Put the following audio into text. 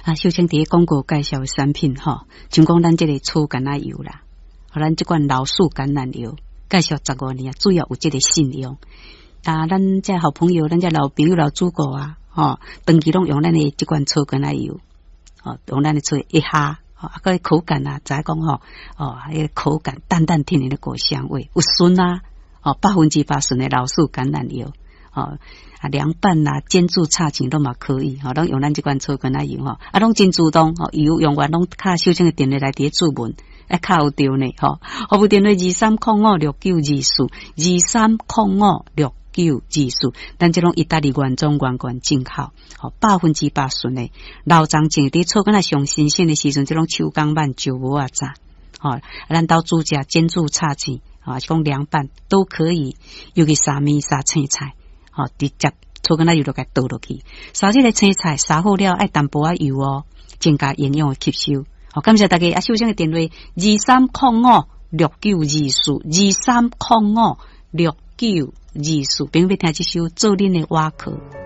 啊，秀清佇咧廣告介紹的產品吼，像講咱這个草橄欖油啦，予咱這款老樹橄欖油，介紹15年啊，主要有這个信用。啊，咱這好朋友，咱這老朋友、老主顧啊，吼，長期攏用咱的這款草橄欖油，吼，用咱的草一下，吼，啊，个口感啊，知影講吼，哦，彼个口感淡淡天然的果香味，有純啊，哦，100%純的老樹橄欖油，哦，啊，涼拌啊，煎煮炒煎攏嘛可以，吼，攏用咱這款草橄欖油吼，啊，攏真自動，吼，油用完攏敲秀清的電話來佇咧注文，會敲有著呢，吼，服務電話23056924，23056924，咱這攏意大利原裝原罐進口，吼，100%純的，老欉種佇草橄欖上新鮮的時陣，這攏手工挽石磨仔榨，吼，咱兜煮食煎煮炒煎，吼，是講涼拌都可以，尤其沙麵沙青菜，吼，直接草橄欖油就共倒落去，燒這个青菜燒好了，愛淡薄仔油哦，增加營養的吸收。好，感謝大家。啊，秀清的電話23056924，23056924，朋友欲聽這首做恁的瓦殼。